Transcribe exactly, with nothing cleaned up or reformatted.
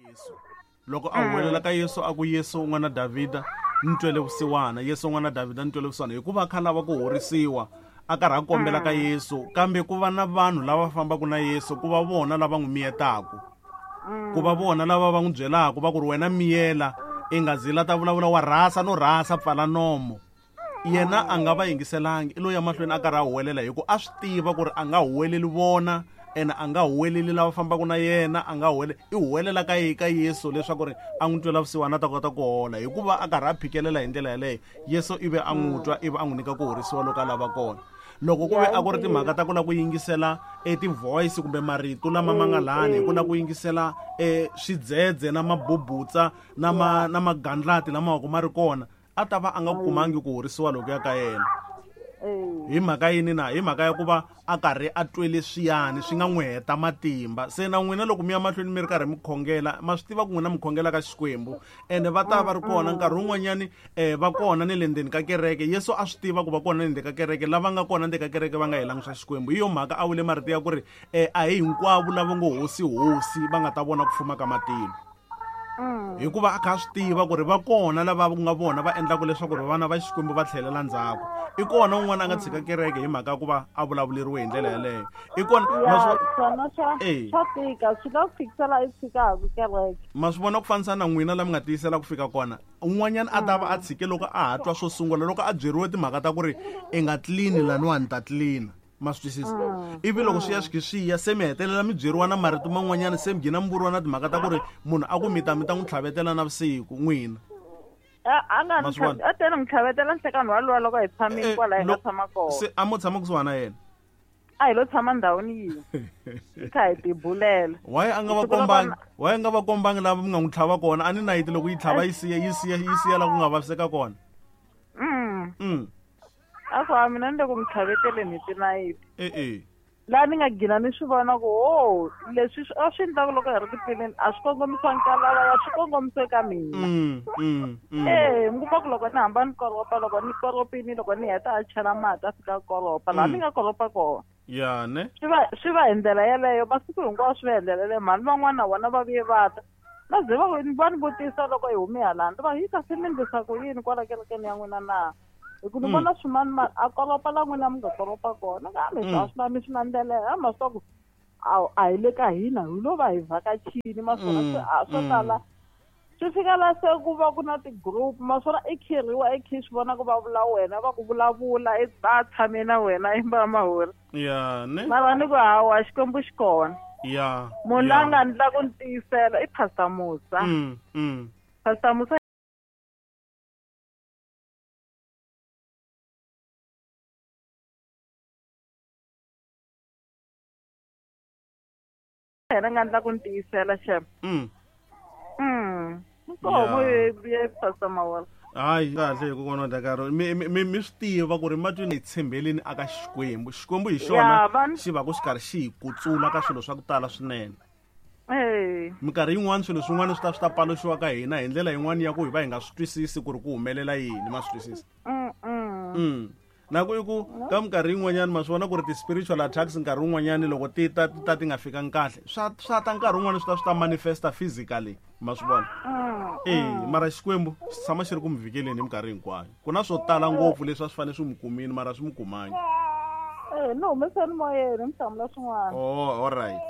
Yesu loko a huwelela ka Yesu a ku Yesu n'wana Davhida ni twele vusiwana, Yesu n'wana Davhida ni twele vusiwana, hikuva a kha lava ku horisiwa a karhi a kombela ka Yesu, kambe ku va na vanhu lava fambaka na Yesu ku va vona lava n'wi miyetaka, ku va vona lava va n'wi byelaka va ku ri wena miyela i nga zila ta vulavula wa rhasa no rhasa pfala nomo. Yena a nga va yingiselangi, i lo ya mahlweni a karhi a huwelela hi ku a swi tiva ku ri a nga huweleli vona ene a nga huweleli lava fambaka na yena, a nga huweleli, i huwelela ka ka Yesu leswaku ri a n'wi twela vusiwana a ta kota ku hola. Hikuva a karhi a phikelela hi ndlela yaleyo, Yesu ivi a n'wi twa ivi a n'wi nyika ku horisiwa loko a lava kona. Loko ku ve a ku ri timhaka ta ku lava ku yingisela e ti-voice kumbe marito lama ma nga lani, hi ku lava ku yingisela e swidzedze na mabubutsa na ma na magandlati lama wa ku ma ri kona, a ta va a nga kumangi ku horisiwa loko ya ka yena. Hi mhaka yini na? Hi mhaka ya ku va a karhi a twele swiyani swi nga n'wi heta matimba. Se na n'wina loko mi ya mahlweni mi ri karhi mi khongela, ma swi tiva ku n'wina mi khongela ka Xikwembu ene va ta va ri kona nkarhi wun'wanyani, eh, va kona ni le ndzeni ka kereke. Yesu a swi tiva ku va kona ni le ndzeni ka kereke, lava nga kona ndzeni ka kereke va nga helangi swa Xikwembu. Hi yo mhaka a vule marito ya ku ri, eh, a hi hinkwavo lava ngo hosi hosi va nga ta vona ku fuma ka matilo. Hikuva a kha a swi tiva ku ri va kona lava ku nga vona va endlaka leswaku ri vana va Xikwembu va tlhelela ndzhaku. I kona un'wana a nga tshika kereke hi mhaka ya ku va a vulavuleriwe hi ndlela yaleyo. I kona, Ya, ma swi swona swa, Eh. swa tika, swi nga ku fikisela i tshikaka kereke. Ma swi vona ku fanisa na n'wina la mi nga tiyisela ku fika kona. Un'wanyana a ta va a tshike loko a ha twa swo sungula, loko a byeriwe timhaka ta ku ri i nga tlini laniwani ta tlina. Ma swi twisisa? Ivi loko swi ya swi swi ya, se mi hetelela mi byeriwa na marito man'wanyana, se mi gina mi vuriwa na timhaka ta ku ri munhu a ku mi ta mi ta n'wi tlhavetela navusiku n'wina. A, a nga Ma ni swi vona? tlha-, a tele n'wi tlhavetela nhlekani walowo loko hi tshamile Eh, kwala hi nga lo- tshama kona. Se a mo tshama kusuhana na yena? A hi lo tshama ndhawini yin'we. Hi kha hi tibulela. Why a nga va Siku ro kombangi? vona- Why a nga va kombangi lava mi nga n'wi tlhava kona? A ni nayiti loko yi tlhava yi siya, yi siya, yi siya la ku nga vaviseka kona. Mm. Mm. A ku, a mina ni le ku mi tlhaveteleni hi tinayiti. Eh, eh. Laha ni nga gina ni swi vona ku, oh, leswi swi, a swi endlaka loko hi ri tipilini, a swi kongomisiwangi ka lava, a swi kongomisiwe ka mina. Mm, mm, mm. Eh, mi kuma ku loko ni hamba ni koropa, loko ni koropini, loko ni heta a chela mati a fika a koropa, laha Mm. ni nga koropa kona. Ya, ne? Swi va, swi va hi ndlela yeleyo, masiku hinkwawo swi va hi ndlela yeleyo. Mhani van'wana na vona va vuye va ta. Va ze va va ni vutisa loko hi hume hala, ni va yi kasi mi endlisa ku yini kwala kerekeni ya n'wina na? Hi ku ni Mm. vona swimani mani a koropa la n'wina mi nga koropa kona. Kambe Mm. a swi na mi swi landzelela, a ma swi tiva ku a, a hi le ka hina, hi lo va hi vhakachini, ma swona Mm, swi, a swo mm. tala. Swi fika la se ku va ku na ti-group, ma swona i khirhiwa, i khi swi vona ku va vula wena, va ku vulavula, i va tshame na wena, i va mahori. Ya, ne? Mara ni ku hawa, Xikwembu xi kona. Ya, Munhu ya. la nga ndla ku ni tiyisela i Pastor Musa. Mm, mm. Pastor Musa yena nga ndla ku ni tiyisela xem. Mm. Mm. Nkomo Ya. ye, ye Pastor Mawala. Hayi, kahle hi ku vona Dakaro. Mi, mi, mi, mi swi tiva ku ri matwini hi tshembeleni aka Xikwembu. Xikwembu hi xona Ya, van- xi va ku xi karhi xi hi kutsula ka swilo swa ku tala swinene. Eh. Minkarhi yin'wana swilo swin'wana swi ta swi ta paluxiwa ka hina hi ndlela yin'wana ya ku hi va hi nga swi twisisi ku ri ku humelela yini, ma swi twisisa? Mm, mm. Mm. Na ku i ku ka minkarhi yin'wanyana ma swi vona ku ri ti-spiritual attacks nkarhi wun'wanyani loko ti ta, ti ta ti nga fikangi kahle, swa, swa ta nkarhi wun'wani swi ta swi ta manifesta physically, ma swi vona? Mm, Eh, mm. mara Xikwembu xi tshama xi ri ku mi vhikeleni hi minkarhi hinkwayo. Ku na swo tala ngopfu leswi a swi fanele swi mi kumile, mara swi mi kumangi. Eh, ni humeseni moyeni, mi hlamula swin'wana. Oh, all right.